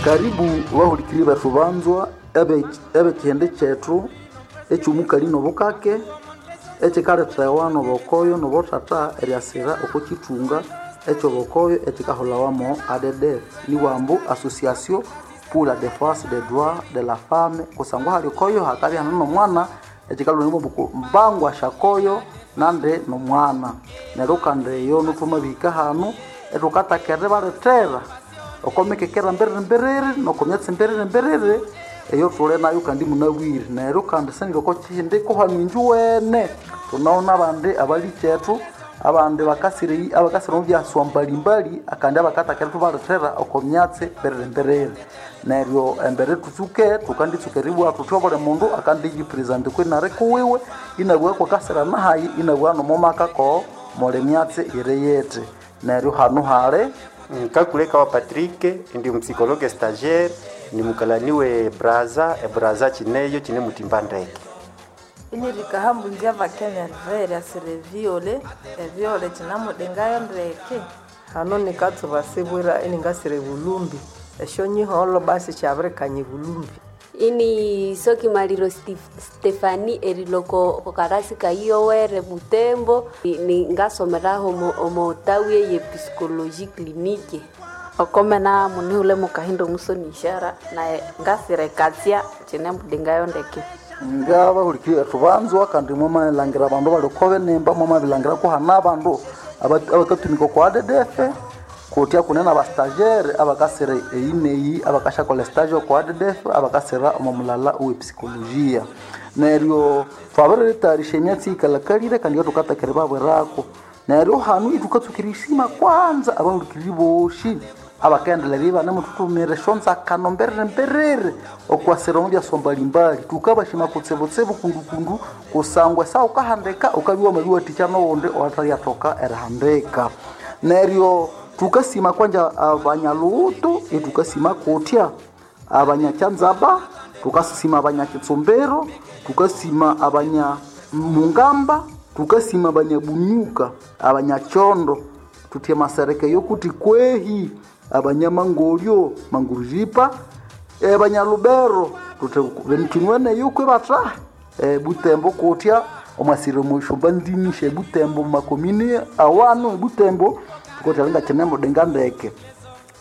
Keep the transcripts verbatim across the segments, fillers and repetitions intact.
Karibu bahulikiri bethu banzwa ebekihindi kyethu ekyomukali nobukake ekikalethewa nobokoyo nobuthatha eryasira oko kithunga ekyobokoyo ekikahulhawa A D D F niwambu Association pour la Défense des Droits de la Femme kusangwa hali okoyo hakabya hane nomwana ekikalhwa mbangwa syakoyo nandi nomwana. Neryo kandi eyo thwamabihika hanu ithukathaka eribalethera oko mikekera mbiriri mbiriri noko myatsi mbiriri mbiriri eyo thuli nayo kandi munabwire. Neryo kandi singa oko kihindi kuhanu injuwene thunawuna abandi abalikyethu abandi bakasire abakasire omu byaswa mbalimbali akandi abakathaka ithubalethera oko myatsi mbiriri mbiriri. Neryo embere thutsuke thukanditsuka eribugha thuthi obuli mundu akandiyipresent kwinari kuwiwe inabugha kwakasira nahayi inabugha nomumaka ko muli myatsi iri yithi. Neryo hanu hali Nkakuleka wa Patrick ndi psychologue stagiaire ni mukalaniwe Braza e Braza chineyo chine mutimba ndeke. Inirikahambu njava Kenya Rivera sire viole e viole chinamudengayo ndeke. Hano nikatsuba sibwira iningasire bulumbi esyo nyiholo basi kyabirikanye bulumbi. Ini soki maliro Stefani eriloko kokarasi kaiyowere Butembo ni ngasomeraho omo tawi ye psychologie clinique. Okomena muniule mukahindo musoni ishara na ngasire katsia chine mudingayo ndeke. Ngaba hulikiri thubanzwa kandi mwamalangira abandu balikobe nemba mwamabilangira kuhana abandu abakatumika kwa A D D F kutya kunena aba stagiaire abakasire eyineyi abakashakola stage kwa A D D F abakasira omu mulala owe psychologia. Neryo twabiritayarisha emyatsi ikalakalire kandi thukatakere babwirako. Neryo hanu ithukatsukira isima kwanza abahulikiri boshi abakaendelera ibanemuthuthumira esyonzakano mbiriri mbiriri okwasira omu byaswa mbalimbali. Thukabashima kutsibutsibu kundukundu kusangwa esaha wukahandika ukabya wamabiwathikya noghundi owathalyathoka erihandika. Neryo thukasima kwanja abanyaluhutu ithukasima kutya abanyakyanzaba, thukasima abanyakitsumbiro, thukasima abanyamungamba, thukasima abanyabunyuka, abanyakyondo, thuthi emasereke yokuthi kwehi, abanyamangolyo mangurujipa, abanyalubero thuthi kinweneyo kwibatha Butembo kutya omwasire omushumba ndimi sye Butembo mumakomini awanu eButembo tukotyalinga kinemudenga ndeke.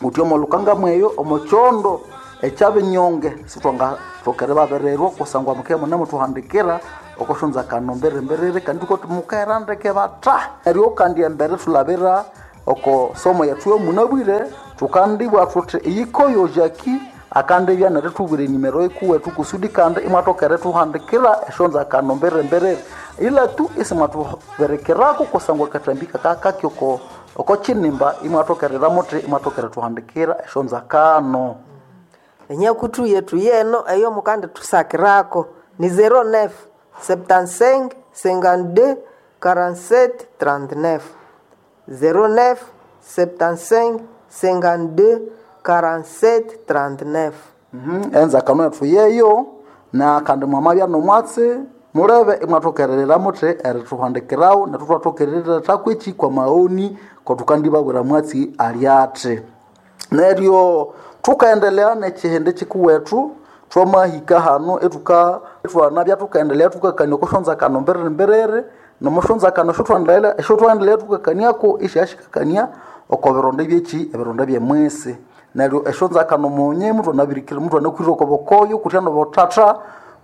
Kutya omolukanga mweyo omokyondo ekyabinyonge sithwangathokere babirirwa kusangwa mukabya munemuthuhandikira okosyonzakano mbiriri mbiriri kandi thukothi mukahera ndeke batha. Neryo kandi embere thulabira oko somo yethu yomunabwire thukandibugha thuthi eyikoyo Jackie akandibya nerithubwira enimero yikuwethu kusudi kandi imwathokere thuhandikira esyonzakano mbiriri mbiriri ila tu isimwathuberekerako kusangwa akathambi kakakaki oko oko kinimba imwathokerera muthi imwathokere thuhandikira esyonzakano. Enyakuthu yethu yeno eyo mukandi thusakirako ni zero neuf septante-cinq cinquante-deux quarante-sept trente-neuf zero neuf septante-cinq cinquante-deux quarante-sept trente-neuf. Mhm, enzakano yethu yeyo na kandi mwamabya nomwatsi mulebe imwathokererera muthi erithuhandikirawo nethu thwathokererera thakweki kwa maoni kothukandibabwira mwatsi alyathi. Neryo thukaendelea nekihindi kikuwethu thwamahika hanu ethuka thwanabya thukaendelea thukakania okosyonzakano mbiriri mbiriri nomosyonzakano esyothuendelea esyothuendelea thukakaniako isyashikakania oko bironda byeki ebironda byemwisi. Neryo esyonzakano munye muthwanabirikira muthwanakwire oko bokoyo kutya nobuthatha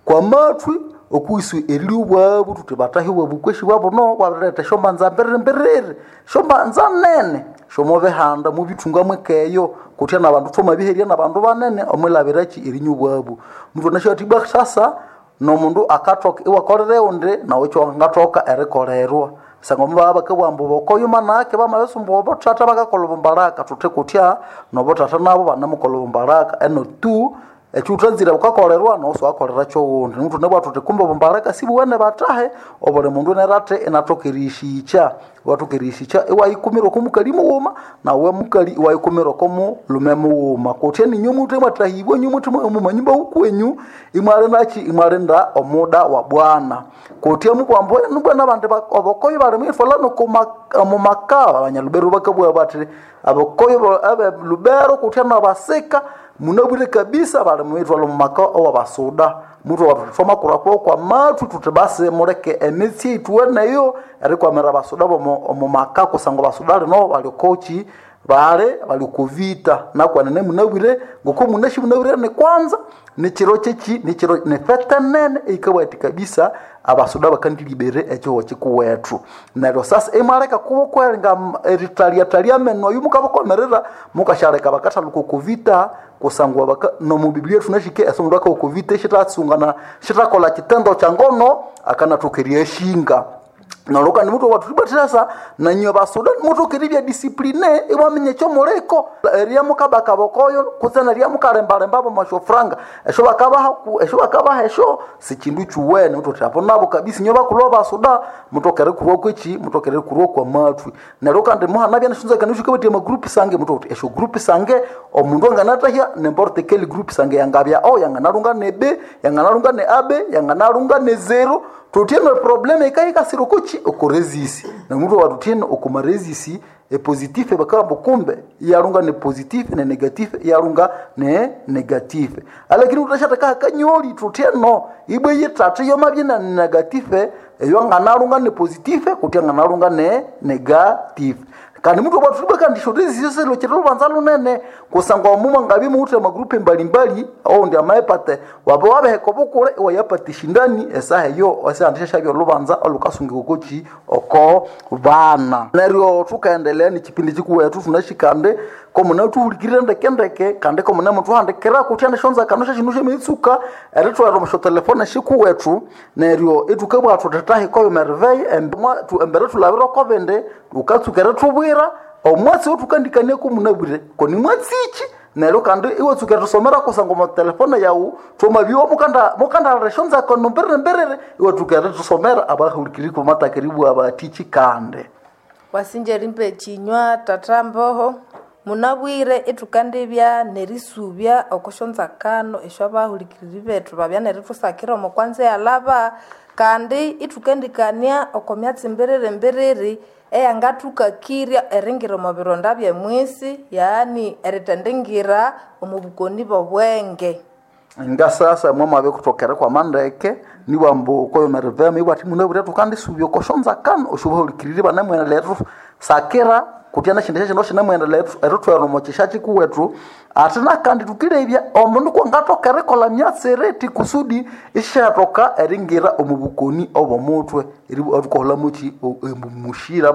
kwamathwi okwisu erilya thuthi batahibwa bukweshi bwabuno bwabiretha esyombanza mbiriri mbiriri esyombanza nene syomubihanda mubithunga mwekeyo kutya nabandu thwamabiherya nabandu banene omwilabiraki erinywa obwabu. Muthwanasyathi ibwa sasa nomundu akathoka iwakolera undi nawe ekyo erikolerwa. Sangwa mubabya bakabugha ambu bokoyo manake bamabisumba obuthatha bakakolha obumbalaka thuthi kutya nobuthatha nabo banemukolha obumbalaka eno tu ekyuthanzire wukakolerwa nawu siwakolera kyowundi. Nimuthunabugha thuthi kumbe obumbalaka sibuwene bathahe obuli mundu nerathi inathoka eriyishikya iwathoka eriyishikya iwayikumira oko mukali mughuma nawe mukali iwayikumira oko mulume mughuma. Kutya ninywe muthe mwathahibwa inywe muthe mumanyumba wukwenyu imwalindaki imwalinda omuda wa bwana. Kutya mubwambu nubwana abandi obokoyo bali mwithwala nomumaka abanyalubero bakabugha bathi abokoyo abe lubero kutya nabasika Munabwire kabisa bali muitwala mu maka owabasuda mutu wathoma kwa kwa mathu tuti basi muleke emitsi ituweneyo erikwamira abasuda bomo omu maka kusangwa basuda lino bali kochi bale bali kuvita nakwanene munabwire ngoko munashi munabwire ni kwanza nichiro chechi nichiro nifete nene ikabwati kabisa abasuda bakandilibere echiho chikuwethu neryo sasa imwaleka kubokwerenga eritaliatalia meno oyu mukabakomerera mukashaleka bakathaluka kuvita kusangwa baka no mu Biblia tunashike esomo lwaka okuvita shitatsungana shitakola chitendo cha ngono akanathukiria eshinga naloka ni mutu watulibatirasa nanyo basuda mutu kiribya discipline iwamenye kyo muleko eria mukabaka bokoyo kutsena ria mukalembalemba bo mashofranga esho bakabaha esho bakabaha esho sikindu chuwene mutu tapo nabo kabisa nyo bakuloba basuda mutokere kurwa kwechi mutokere kurwa kwa matwi naloka ndi muhana bya nshunza kanushu kabati ma group sange mutu esho group sange omundu anganatahya n'importe quel group sange yangabya o yanganalunga ne b yanganalunga ne ab yanganalunga ne zero tutiene probleme ikaikasira kuchi okorezisi na mutu watutiene okomarezisi e positif bakamba kumbe yarunga ne positif ne negatif yarunga ne negatif alakini utashataka kanyoli tutieno ibwe yitatu yo mabye na negatif eyo nganarunga ne positif kuti nganarunga ne negatif kandi mutu watuliba kandi shorezi yose lochero lubanza lunene kusangwa mumwa ngabi muute magrupe mbalimbali au ndi amaepate wabe wabeheka bukule wayapate shindani esaha eyo osandisha shabyo lubanza olukasungi kokochi oko bana neryo tukaendelea ni chipindi chikuwetu tunashikande komuna tuhulikirire ndekendeke kandi komuna mutuhandikira kuti andishonza kanusha shinu shemitsuka eritwera omusho telefone shikuwetu neryo itukabwathu titahikoyo merveille embere tulabira okobindi ukatsuka eritubwira omwatsi otukandikania komunabwire koni mwatsichi neryo kandi iwatsuka erisomera kusangwa omu telefone yawu twamabiwa mukanda mukandalira eshonzako nomberere mberere iwatsuka eritusomera abahulikiri komatakiribwa abatichi kandi wasinja rimpe chinywa tata mboho munabwire ithukandibya nerisubya okoshonzakano esyo abahulikiriri bethu babya nerithusakira omo kwanza yalaba kandi ithukendikania oko myatsi mbiriri mbiriri eyangathukakirya eringira omo bironda byemwisi yaani erithendingira omu bukoni bobwenge nga sasa mwamabe kutokera kwa mandeke niwambo koyo merivema iwati munabwire tukandisubya okoshonzakano oshubahulikiriri banamwendelera sakira kutyana shindu shino shinamwendelera eritwera omo chisha chikuwethu ate nakandi tukilebya omundu kwangathoka erikolha myatsi ti kusudi ishyathoka eringira omu bukoni obw'omutwe erikoholamuki mushira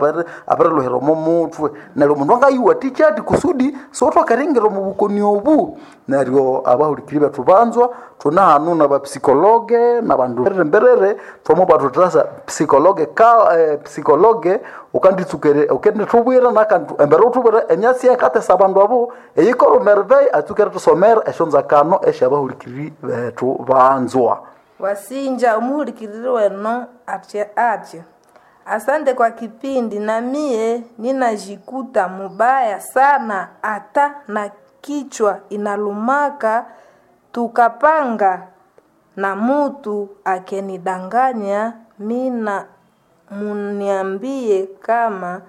abirilhuhira omo mutwe neryo omundu angayiwathikya ati kusudi siwuthoka eringira omu bukoni obu neryo abahulikiri bethu banzwa thune hanu nabapsikologe nabandu mberere thwamubwathuthasa psikologe ka eh, psikologe ukanditsukere ukendithubwira nakandi embere uthubwira emyatsi yakatesa abandu abo eyikora merveille atsukere thusomera esyonzakano esyabahulikiri bethu banzwa wasinja omuhulikiriri weno atye atye asante kwa kipindi na mie ninajikuta mubaya sana ata na kichwa inalumaka tukapanga na mutu akenidanganya mina muniambie kama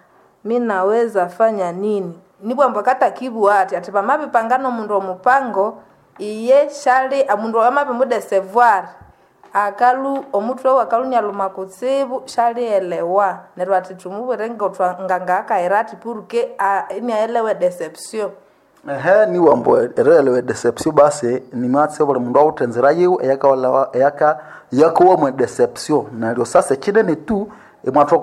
minaweza fanya nini nibwamba katakibu ati ati pamapipangana omundu omupango iye shali omundu amapimudesevoir akalu omutwe we akalunyaluma kutsibu shalielewa neryo ati tumubwire ngangakaira ati purke iniaelewe deception ehe niwambo erelewe deception basi nimatse buli mundu awuthe enzira yiwe eyakawalawa eyaka yakowa deception neryo sasa ekinene tu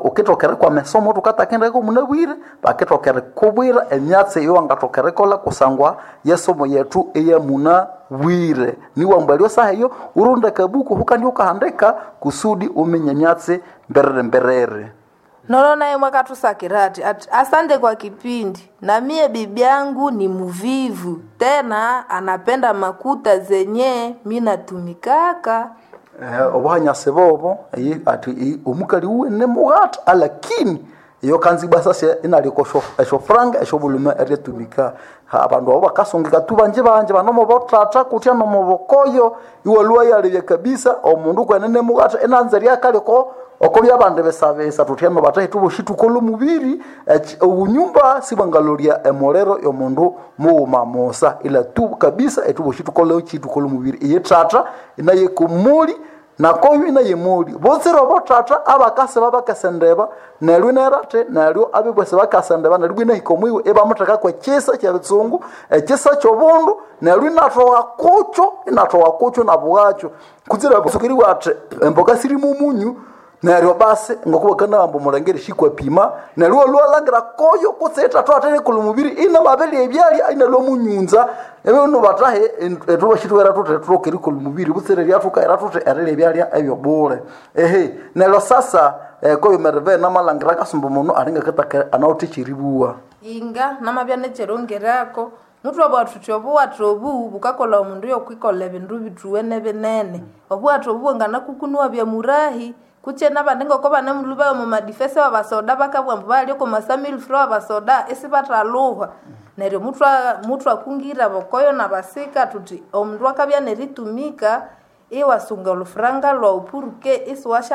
ukitokere kwa mesomo tukatakendeko munabwire bakitokere kubwira emyatsi eyo wangatokere kola kusangwa yesomo yetu eyamunabwire niwambo eryo saha eyo urunda kabuku hukandi ukahandika kusudi umenye emyatsi mberere mberere nolo naye mwakatusakira ati ati asante kwa kipindi na mie bibi yangu ni muvivu tena anapenda makuta zenye mi natumikaka Eh, obuhanyasi bobo eyi- ati i- omukali uwene mughata alakini iyo kanzibwa sasa inaliko eshofranga eshobuluma eryetumika Ha, abandu abo bakasungika tu banje banje banomo botata kutya nomo bokoyo iwalua yalebya kabisa omundu kwenene mughata enanza ryakaliko oko byabandi bisabisa tuthyano batahi tuboshi tukola omubiri eki- obunyumba sibwangalolya emuliro yomundu mughuma musa ila tu kabisa etuboshi tukola ki tukola omubiri iye thatha inaye kumuli nakoyu inaye muli botsire obothatha abakasi babakasendeba neryo inerate neryo abibwese bakasendeba neryo bwinahika omwiwe ibamuthekako ekisa kyebitsungu ekisa kyobundu neryo inathowa kukyo inathowa kukyo nabwakyo kutsira sukiriwa athi emboka sirimu omunyu neryo basi ngokubakanagamba omulengeri shikwapima neryo walwalangira koyo kutse ithathu atherikolha omubiri inamabelya ebyalya inalwa munyunza ebinu batahe etubashitwera thuthi thutoke erikolha omubiri butsire lyathukaira thuthi erilya ebyalya ebyobule ehe neryo sasa eh, koyo mereve namalangira kasumba muno alingakataka anawuthe kyeribuwa inga namabya nekyerongeraako muthu thuthi obuwatha obu bukakolha omundu yokwikolha ebindu bithuwene binene obuwatha obu bwanganakukunua byamurahi kutse nabandi ngoko banemulhuba omu madifese wabasoda bakabugha ambu balya oko masamilfro wabasoda isibathaluhwa neryo muthu muthu akungira bokoyo nabasika thuthi omundu akabya neritumika iwasunga olufuranga lwawu puruke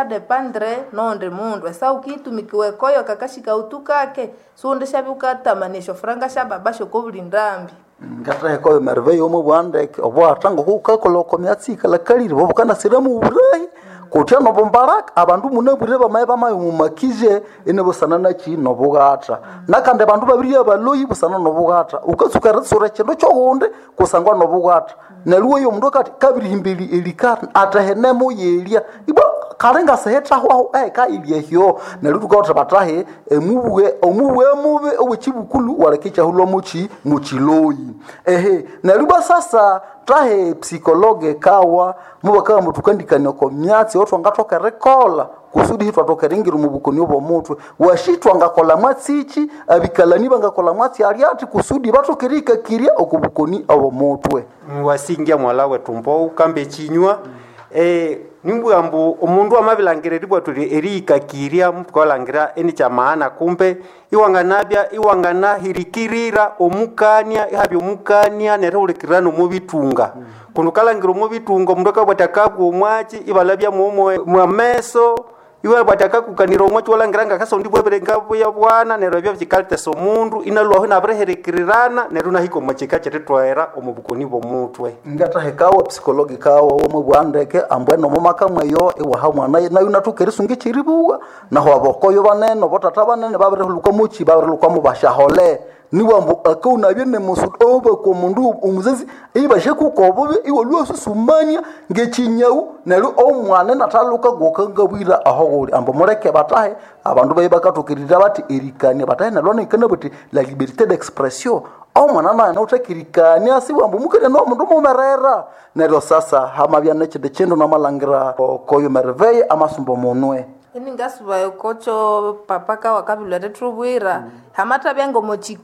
isiwasyadependre nondi mundu esa ukiitumikiwa ekoyo kakashika utu kake siwundishabya ukatamania esyofuranga syababa syokobuli ndambi ngathaheka oyo mereve yomo bwandeke obwatha ngokukakolha oko myatsi ikalhakalire bobukanasiramu oburahi kutya nobumbaraka abandu munabwire bamaye bamaye mumakije inibusana naki nobughatha nakandi abandu babiri abaloyi busana nobughatha ukatsuka eritsura ekindu kyoghundi kusangwa nobughatha neryo weyo omundu akati kabirihimba eli- elikara athahenemo yelya ibwa kali ngasihithahwaho ehikailya ehyo neryo thukawatha batahe emubwe omubwe mubi owekibukulu waleka ekyahulwa muki mukiloyi ehe neryo ibwa sasa tahe psikologe kawa mubakagamba thukandikania oko myatsi otwangathoka erikolha kusudi hitwathoka eringira omu bukoni obw'omutwe washi twangakolha mwatsiki abikalani bangakolha mwatsi alyathi kusudi bathoka erihikakirya oku bukoni obw'omutwe wasingia mwala wetu mbou kambe ekinywa eh, nimbugha mbu omundu amabilangira eribwa tuli erihikakirya mutukalangira eni kyamaana kumbe iwanganabya iwanganahirikirira omukania ihabya omukania nerihulikirira nomubitunga kundi ukalangira omubitunga omundu akabwa ati akabwa omwaki ibalabya mwomo mwameso iwe bwati akakukanira omwaki walangira ngakasondi bwebere ngabuya bwana neryo ebyo bikalitesa omundu inalwaho inabiriherekirirana neryo inahika omwakika kyeritwera omu bukoni bw'omutwe ngathahekawa psikologi kawa womwe bwandeke ambwene omumaka mweyo iwaha mwana nayo nathuka erisunga ekyeribuwa naho abokoyo banene obothatha banene babirihulhuka muki babirihulhuka bashahole niwambu akaunabye nemusu obaka omundu omuzazi ibashakuka obubi iwalwa susumania ngekinyau neryo omwana nathaluka gokangabwira aho ghuli ambu muleke batahe abandu baye bakathukiririra bathi erikania batahe nalwa nikana buthi la liberté d'expression omwana naye nauthakirikania siwambu mukania nomundu mumerera neryo sasa hamabya nekyindi kindu namalangira koyo mereveye amasumba munwe ini ngasubayo kocho papa kawa kabilwa tethubwira hamathabya ngomochiku